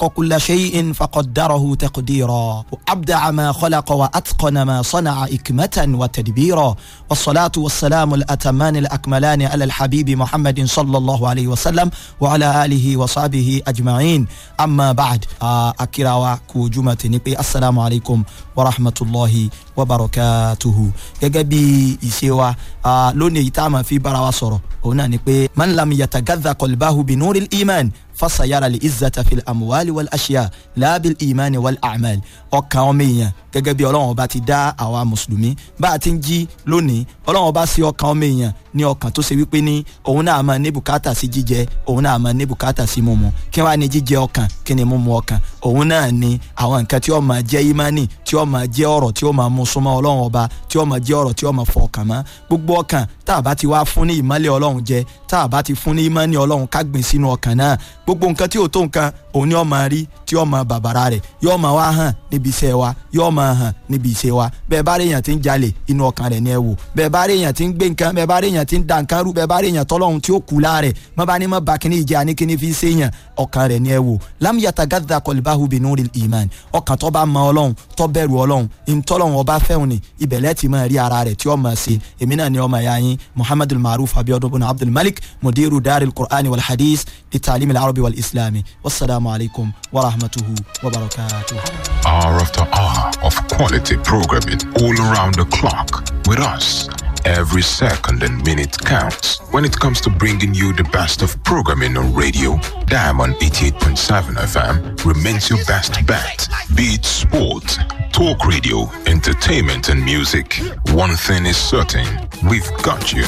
كل شيء فقدره تقديرا وأبدع ما خلق وأتقن ما صنع إكمة وتدبيرا، والصلاة والسلام الأتمان الأكملان على الحبيب محمد صلى الله عليه وسلم وعلى آله وصحبه أجمعين. أما بعد، أكراوا كوجمة نبي، السلام عليكم ورحمة الله وبركاته. Gẹ́gẹ́ bí ìṣe wa lónìí, èyí tá a máa fi bára wa sọ̀rọ̀ òun náà ni pé man lam yatagadha qalbahu bi nuril iman fasayara li izzata fil amuwali wal ashiya laabil imani wal amal. Ọkàn ọmọ èèyàn, gẹ́gẹ́ bí Ọlọ́run Ọba ti dá àwa mùsùlùmí bá a ti ń jí lónìí, Ọlọ́run Ọba sí ọkàn ọmọ èèyàn ní ọkàn tó ṣe wípé ní òun náà máa ní bùkátà sí jíjẹ, òun náà máa ní bùkátà sí mímu. Kí wàá ní jíjẹ ọkàn? Kí ni mímu ọkàn? Òun náà ni àwọn nǹkan tí ó máa jẹ́ ìmánì, tí ó máa jẹ́ ọ̀rọ̀ tí ó máa mú súnmọ́ Ọlọ́run Ọba, tí ó máa jẹ́ ọ̀rọ̀ tí ó máa fọ ọkàn mọ́. Gbogbo ọkàn tá a bá ti wá fún ní ìmọ́lẹ̀ Ọlọ́run jẹ, tá a bá ti fún ní ìmọ́ni Ọlọ́run ká gbìn sínú ọkàn náà, gbogbo nǹkan tí ò tó nǹkan òun ni ó máa rí, tí ó máa bàbàrà rẹ̀, yóò máa wá hàn níbi iṣẹ́ wa, yóò máa hàn níbi iṣẹ́ wa. Bẹ́ẹ̀ bá rí èèyàn tí ń jalè, inú ọkàn rẹ̀ ni ẹ wò. Bẹ́ẹ̀ bá rí èèyàn tí ń gbé nǹkan, bẹ́ẹ̀ bá rí èèyàn tí ń da nǹkan rú, bẹ́ẹ̀ bá rí èèyàn tọ́lọ́hun tí ó kú láàrẹ̀, mọ́ bá ní mọ́ bá kíní ìjẹ́ àní kíní fi ṣe èèyàn, ọkàn rẹ̀ ni ẹ wò. Lam yatagadda qalbahu binuril iman. Ọkàn tó bá mọ Ọlọ́run, tó bẹ̀rù Ọlọ́run, ìtọ́lọ́run Ọba fẹ́hùn ni ìbẹ̀lẹ̀ ti máa rí ara rẹ̀ tí ó máa ṣe. Èmi náà ni ọmọ ẹ̀yà yín Muhammadul Maruf Abiodun bin Abdul Malik, mudiru daril Qur'ani wal hadith للتعليم العربي والإسلامي. والسلام عليكم ورحمته وبركاته. Hour after hour of quality programming all around the clock with us. Every second and minute counts when it comes to bringing you the best of programming on radio. Diamond 88.7 FM remains your best bet. Be it sport, talk radio, entertainment, and music. One thing is certain: we've got you.